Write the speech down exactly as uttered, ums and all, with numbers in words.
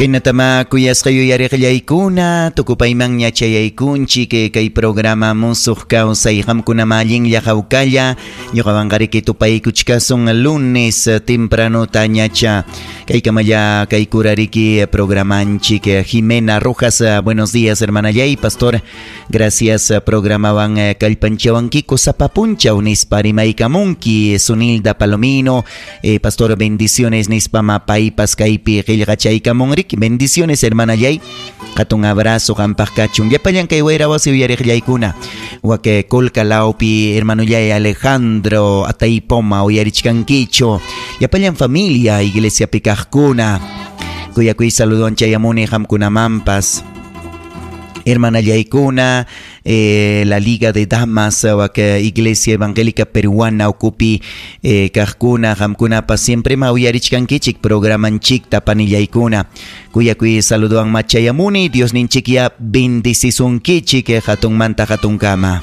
Kaynatama kuyasqa yuyariqllaykuna tukupaymanña chayaykunchik kay programa Musuq Kawsay. Qamkunama allinlla hawkalla ñuqawanqariki tupaykuchkasun lunes tempranota ñacha. Kaykamalla kaykurariki programanchik. Jimena Rojas, buenos días, hermanallay, pastor. Gracias, programawan kallpanchawankiku sapa punchaw nispa rimaykamunki. Sunilda Palomino, eh, pastor, bendiciones nispa mapaypas kaypi qillqachaykamunriki. Bendiciones, hermanallay. Hatun abrazo qampaq kachun. Llapallan kay wayra wasi uyariqllaykuna. Wake Colca laupi hermanollay Alejandro Ataypoma uyarichkankichu. Llapallan familia iglesia kaqkuna. Kuyakuy saludowan chayamuni qamkunamanpas. Hermanallaykuna, eh, la Liga de Damas, wak Iglesia Evangélica Peruana ukupi eh, kaqkuna, qamkunapas siempre ma uyarichkankichik programanchikta panillaykuna. Kuyakuy saludowan machayamuni, Dios ninchikya bendecisunkichik hatunmanta hatunkama.